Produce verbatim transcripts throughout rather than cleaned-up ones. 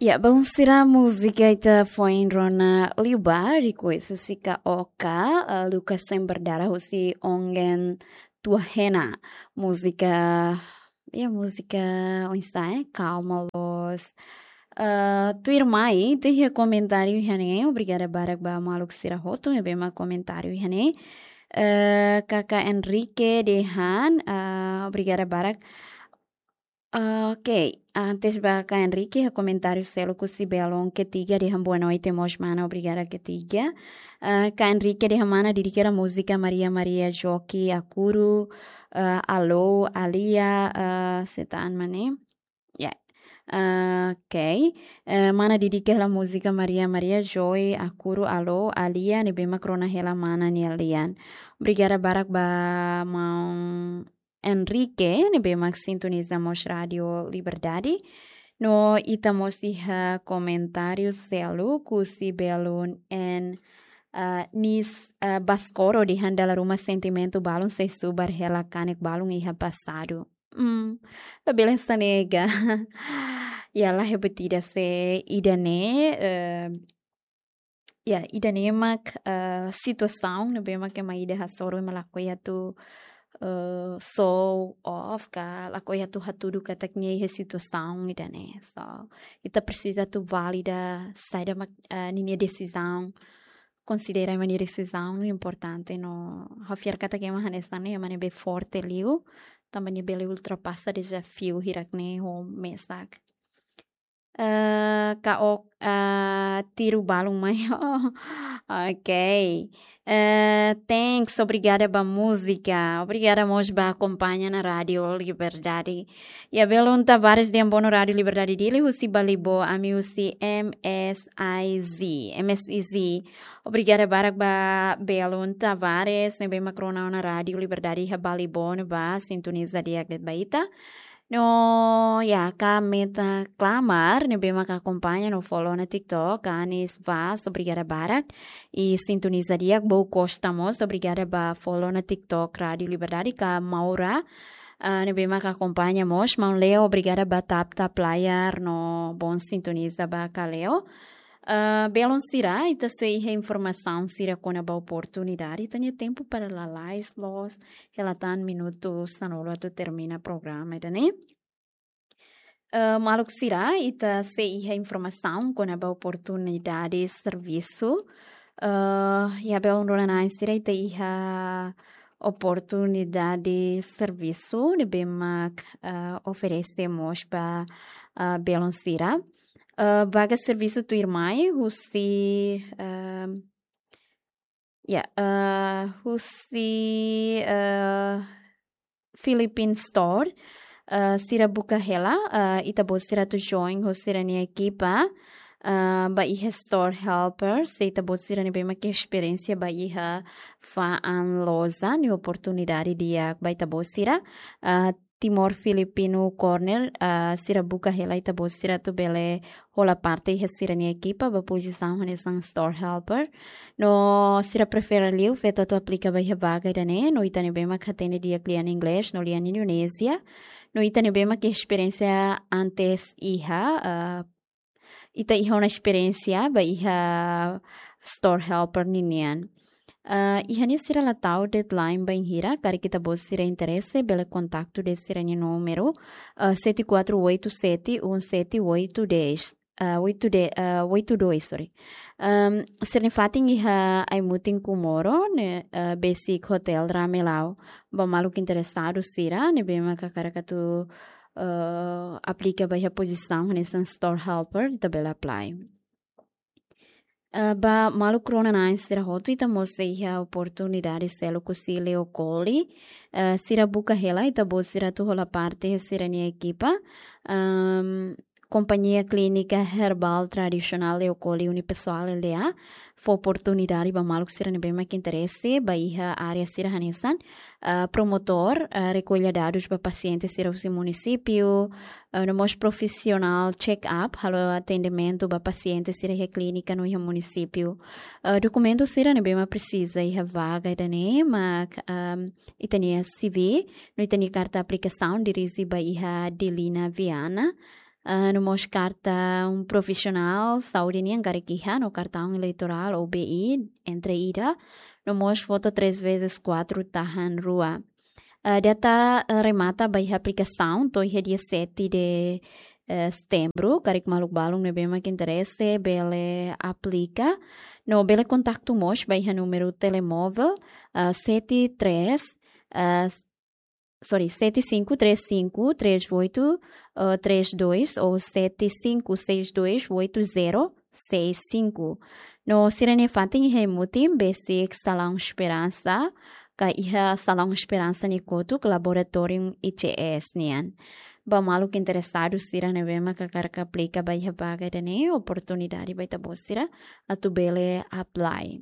Ya, belun sira, múzika ita foin rona liubá, request husi K O K, eh, Luka Sem Berdarah husi Ongen Tuahena. Múzika, ya, múzika oinsá, eh, kalma loos. Eh, tuirmai, ita iha komentáriu iha ne'e, obrigada barak ba maluk sira hotu ne'ebé mak komentáriu iha ne'e. Eh, Kaka Enrique dehan, eh, obrigada barak. Ah, ok, antes ba Kaka Enrique, iha komentáriu seluk husi belun Ketiga dehan boa noite mós mana, obrigada Ketiga. Ah, Kaka Enrique dehan mana dedika hela múzika Maria Maria Joki Akuru, ah, Alô, Alia, ah, setan mane. Ya. Ah, ok. Eh, mana dedika hela múzika Maria Maria Joki Akuru, Alô, Alia, ne'ebé mak rona hela mana nia lian. Obrigada barak ba maun Enrique, ne'ebé mak sintoniza mós Rádio Liberdade. No ita mós iha komentáriu seluk husi belun N, ah, Nis, ah, Baskoro dehan dala ruma sentimentu balun sei subar hela kanek balun iha pasadu. Hmm, labele hanesan ne'e ka. Ya, la hebat ida se ida-ne'e, eh, ya, ida-ne'e mak, eh, situasaun ne'ebé mak ema ida hasoru ema lakohi atu, eh, show off ka, lakohi atu hatudu katak nia iha situasaun ida-ne'e. So, ita presiza atu valida saida mak, eh, ninia desizaun, konsidera ema nia desizaun importante no ha'u fiar katak ema hanesan ne'e ema ne'ebé forte liu, tanba nia bele ultrapasa dezafiu hirak-ne'e ho mesak. Eh, K O K, eh, tiru balun mai. Oh, ok. Eh, thanks, obrigada ba múzika. Obrigada mós ba akompaña ona Rádio Liberdade. Ya, belun Tavares dehan boa noite Rádio Liberdade Dili, husi Balibó, ami husi M S I Z, M S I Z. Obrigada barak ba belun Tavares, ne'ebé mak rona ona Rádio Liberdade iha Balibó ne'ebá, sintoniza di'ak de'it ba ita. No, ya, Kaka Meta Klamar, ne'ebé mak akompaña no follow ona TikTok, Anis Vaz, obrigada barak. I sintoniza di'ak, Bou Costa mós, obrigada ba follow ona TikTok Rádio Liberdade, Kaka Maura, ah, ne'ebé mak akompaña mós, maun Leo, obrigada ba tap tap layar, no bom sintoniza ba Kaka Leo. Ah, belun sira, ita sei iha informasaun sira kona-ba oportunidade, ita-nia tempu para lalais loos, hela tan minutu sanulu atu termina programa ida-ne'e. Eh, maluk sira, ita sei iha informasaun kona-ba oportunidade servisu. Eh, ya, belun rona-na'in sira, ita iha oportunidade servisu ne'ebé mak, eh, oferese mós ba, eh, belun sira. Eh, vaga servisu tuirmai husi, eh, ya, eh, husi, eh, Philippine Store, eh, sira buka hela, eh, ita-boot sira atu join ho sira-nia ekipa, eh, ba iha store helper, se ita-boot sira ne'ebé mak iha esperiénsia ba iha fa'an loja, ne'e oportunidade di'ak ba ita-boot sira, eh, Timor Filipino Corner, eh, sira buka hela ita-boot sira atu bele hola parte iha sira-nia ekipa ba pozisaun hanesan store helper. No sira prefere liu feto atu aplika ba iha vaga ida-ne'e, no ita ne'ebé mak hatene di'ak lian Inglés no lian Indonézia. No ita ne'ebé mak iha esperiénsia antes iha, eh, ita iha ona esperiénsia ba iha store helper ninian. Eh, iha ne'e sira la tau deadline bainhira, karik ita-boot sira interese, bele kontaktu de'it sira-nia númeru, eh, sete quatro oito sete um sete oito dez. Eh, oito de, eh, oito dois, sorry. Ehm, sira-nia fatin iha Aimutin Comoro, ne'e, eh, besik Hotel Ramelau. Ba maluk interesadu sira, ne'ebé mak hakarak atu, eh, aplika ba iha pozisaun hanesan store helper, ita bele apply. Eh, ba maluk rona-na'in sira hotu, ita mós sei iha oportunidade seluk husi Leokoli. Eh, sira buka hela ita-boot sira atu hola parte sira-nia ekipa. Ehm, Kompañia Klínika Herbál Tradisionál Leokoli Unipessoal L D A fó oportunidade ba maluk sira ne'ebé mak interese ba iha área sira hanesan, eh, promotór, eh, rekolla dadus ba pasiente sira husi munisípiu, eh, no mós profisionál check-up, halo atendimentu ba pasiente sira iha klínika no iha munisípiu. Eh, dokumentu sira ne'ebé mak presiza iha vaga ida-ne'e mak, ehm, ita-nia C V, no ita-nia karta aplikasaun dirije ba iha Delina Viana, ah, no mós karta un profisionál saúde nian karik iha, no kartaun eleitorál ou B I, entre ida, no mós foto três vezes quatro tahan rua. Ah, data, ah, remata ba iha aplikasaun to'o iha dia sete de, eh, setembru, karik maluk balun ne'ebé mak interese bele aplika. No bele kontaktu mós ba iha númeru telemóvel, ah, sete três, ah, sorry, sete cinco três cinco três oito, ah, três dois ou sete cinco seis dois oito zero seis cinco. No sira-nia fatin iha Hemutin, besik Salaun Esperansa, ka iha Salaun Esperansa nia kotuk, Laboratóriu I C S nian. Ba maluk interesadu sira ne'ebé mak hakarak aplika ba iha vaga ida-ne'e, oportunidade ba ita-boot sira atu bele apply.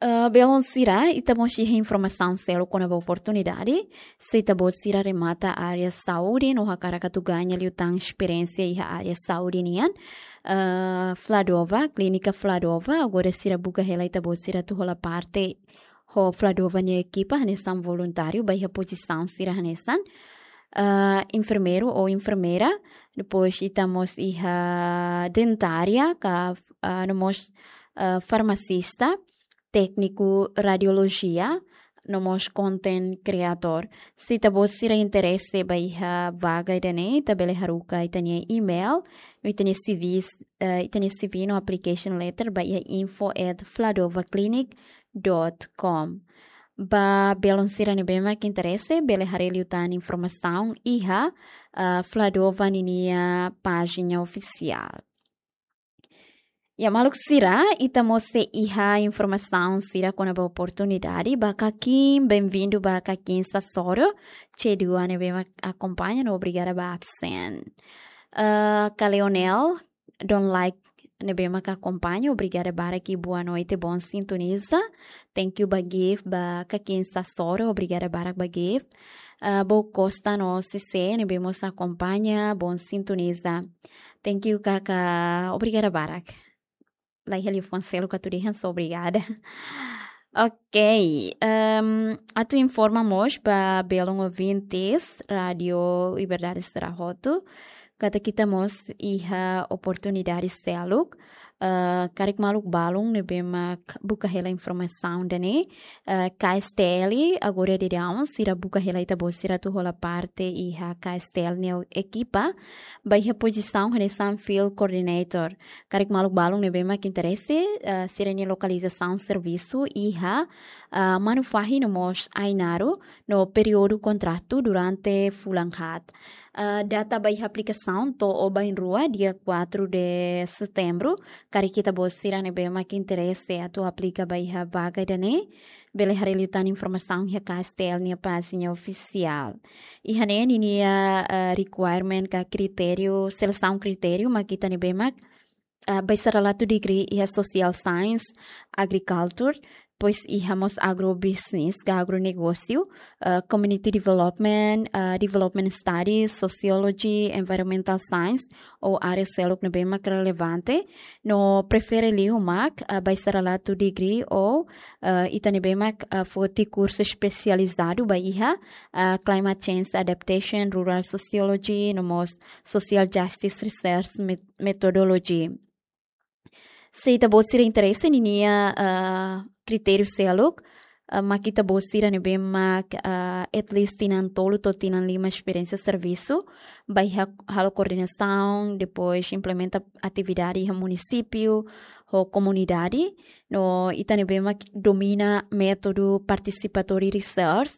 Eh, belun sira, ita mós iha informasaun seluk kona-ba oportunidade. Se ita-boot sira remata área saúde no hakarak atu gaña liután esperiénsia iha área saúde nian, eh, Fladova, Klínika Fladova, agora sira buka hela ita-boot sira atu hola parte ho Fladova nia ekipa hanesan voluntáriu ba iha pozisaun sira hanesan, ah, enfermeiru ou enfermeira, depois ita mós iha dentária, ka, ah, no mós, ah, farmasista, tékniku radiolojia, no mós content creator. Se ita-boot sira interese ba iha vaga ida-ne'e, ita bele haruka ita-nia email, no ita-nia C Vs, eh, ita-nia C V no application letter ba iha info at fladovaclinic dot com. Ba belun sira ne'ebé mak interese, bele haree liután informasaun iha, ah, Fladova ninia pájina ofisiál. Ya, maluk sira, ita mós sei iha informasaun sira kona-ba oportunidade ba kakin, benvindu ba kakin Sasoro, C dua ne'ebé mak akompaña no obrigada ba absen. Eh, ka Leonel, don't like ne'ebé mak akompaña, obrigada barak i boa noite, bom sintoniza. Thank you ba Gift, ba kakin Sasoro, obrigada barak ba Gift. Ah, Bo Costa no C C ne'ebé mós akompaña, bom sintoniza. Thank you, kaka, obrigada barak. Laiha liafuan seluk atu dehan, só obrigada. Ok, ehm, atu informa mós ba belun ouvintes Rádio Liberdade sira hotu, katak ita mós iha oportunidade seluk, eh, karik maluk balun ne'ebé mak buka hela informasaun ida-ne'e, eh, K S T L, agora daudaun sira buka hela ita-boot sira atu hola parte iha K S T L nia ekipa, ba iha pozisaun hanesan field coordinator. Karik maluk balun ne'ebé mak interese, eh, sira-nia lokalizasaun servisu iha, eh, Manufahi no mós Ainaro, no períodu kontratu durante fulan haat. Ah, data ba iha aplikasaun to'o bainrua, dia quatro de setembro. Karik ita-boot sira ne'ebé mak interese atu aplika ba iha vaga ida-ne'e, bele haree liután informasaun iha K S T L nia pájina ofisiál. Iha ne'e ninia, ah, requirement ka kritériu, selesaun kritériu mak ita ne'ebé mak, ah, baisarilatu degree iha Social Science, Agriculture, depois iha mós Agrobusiness ka Agronegósiu, ah, Community Development, ah, Development Studies, Sociology, Environmental Science, ou área seluk ne'ebé mak relevante, no prefere liu mak, ah, baisarilatu degree ou, ah, ita ne'ebé mak, ah, foti kursu espesializadu ba iha, ah, Climate Change Adaptation, Rural Sociology, no mós Social Justice Research Met-, Methodology. Se ita-boot sira interese ninia, ah, kritériu seluk, ah, mak ita-boot sira ne'ebé mak, ah, at least tinan tolu to'o tinan lima esperiénsia servisu, ba iha halo koordenasaun, depois implementa atividade iha munisípiu, ho komunidade, no ita ne'ebé mak domina métodu participatory research,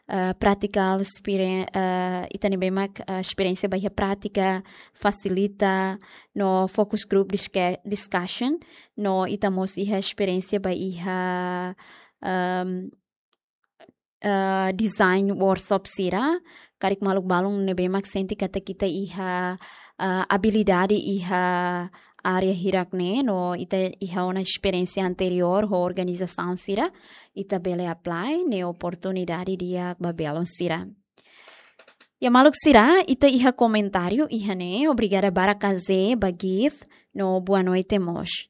ah, practical experience, ah, ita ne'ebé mak, ah, esperiénsia ba iha prátika, fasilita, no focus group disca-, discussion, no ita mós iha esperiénsia ba iha, ehm, eh, design workshop sira, karik maluk balun ne'ebé mak sente katak ita iha, eh, abilidade iha área hirak-ne'e, no ita iha ona esperiénsia anteriór ho organizasaun sira, ita bele apply, ne'e oportunidade di'ak ba belun sira. Ya maluk sira, ita iha komentáriu iha ne'e, obrigada barak K Z, ba Gift, no boa noite mós.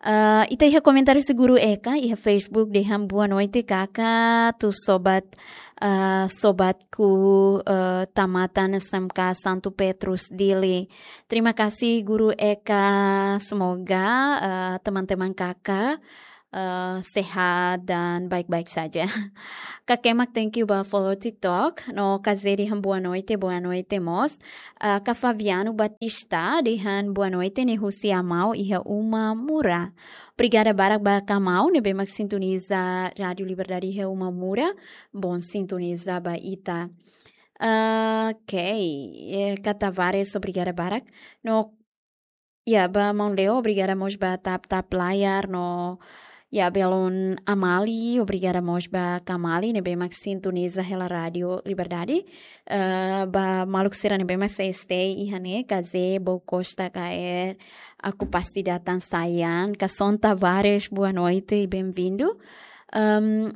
Ah, ita iha komentáriu Seguru Eka, iha Facebook dehan boa noite kaka, tu sobat, eh, sobatku, eh, tamatan S M K Santo Petrus Dili. Terima kasih Guru Eka, semoga, eh, teman-teman kakak, eh, sehat dan baik-baik saja. Kak Kemak, thank you ba follow TikTok. No Kazedi han boa noite, boa noite mós. Eh, Kak Fabiano Batista dehan boa noite ne'e husi Amau iha Uma Mura. Obrigada barak ba Kak Amau ne'ebé mak sintoniza Rádio Liberdade iha Uma Mura. Bom sintoniza ba ita. Ah, ok. Eh, Kak Tavares, obrigada barak. No, ya, ba maun Leo, obrigada mós ba tap-tap layar, no, ya, belun Amali, obrigada mós ba Kak Amali ne'ebé mak sintoniza hela Rádio Liberdade. Eh, ba maluk sira ne'ebé mak sei stay iha ne'e, Kazé, Bou Costa, K R, Aku Pasti Datang Sayang, Kak Son Tavares, boa noite e bem-vindo. Ahm,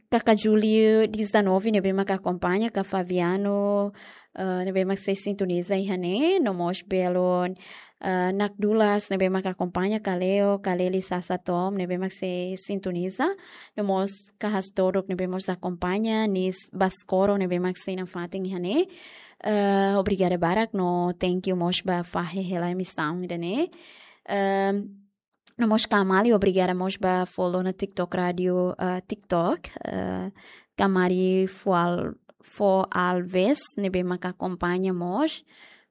Kaka Julio dezanove ne'ebé mak akompaña, Kak Fabiano, eh, ne'ebé mak sei sintoniza iha ne'e, no mós belun, eh, Nak Dulas ne'ebé mak akompaña, Kak Leo, Kak Leli Sasa Tom ne'ebé mak sei sintoniza, no mós Kak Hastorok ne'ebé mós akompaña, Nis Baskoro ne'ebé mak sei nafatin iha ne'e. Eh, obrigada barak no thank you mós ba fahe hela emisaun ida-ne'e. Ehm, no mós Kak Amali, obrigada mós ba follow ona TikTok Rádio, eh, TikTok, eh, Kak Mari Fual-, Fo Alves, ne'ebé mak akompaña mós,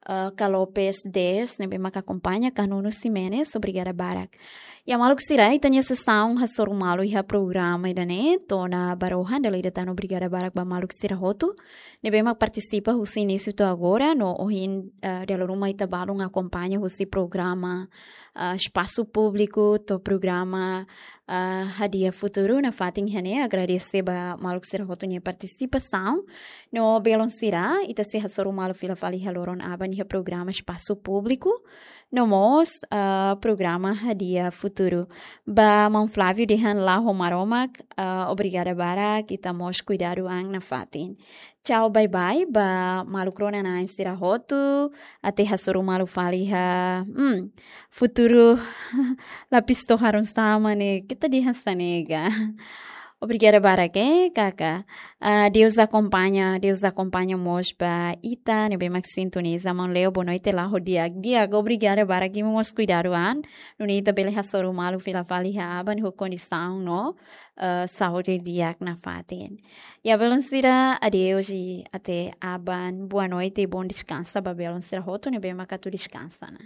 eh, Kak Lopes Des, ne'ebé mak akompaña, Kak Nuno Ximenes, obrigada barak. Ya maluk sira, ita-nia sesaun hasoru malu iha programa ida-ne'e, to'o ona ba rohan, dala ida tan obrigada barak ba maluk sira hotu ne'ebé mak partisipa husi inísiu to'o agora, no ohin, eh, dala ruma ita balun akompaña husi programa, ah, Espasu Públiku, to'o programa, ah, Hadi'a Futuru, nafatin iha ne'e, agradese ba maluk sira hotu nia partisipasaun. No belun sira, ita sei hasoru malu fila fali iha loron aban iha programa Espasu Públiku, no mós, ah, programa Hadi'a Futuru. Ba maun Flávio dehan la'o ho Maromak, ah, obrigada barak, ita mós kuidadu an nafatin. Tchau, bye bye, ba maluk rona-na'in sira hotu, até hasoru malu fali iha, hmm, futuru lapis to'o harun sama ne'e, keta dehan hanesan ne'e ka. Obrigada barak, eh, kaka. Ah, Deus akompaña, Deus akompaña mós ba ita ne'ebé mak sintoniza, maun Leo, boa noite, la'o ho di'ak. Di'ak, obrigada barak, imi mós kuidadu an. Nune'e ita bele hasoru malu fila fali iha aban ho kondisaun no, eh, saúde di'ak nafatin. Ya belun sira, adeus e até aban. Boa noite e bom descanso ba belun sira hotu ne'ebé mak atu deskansa ona.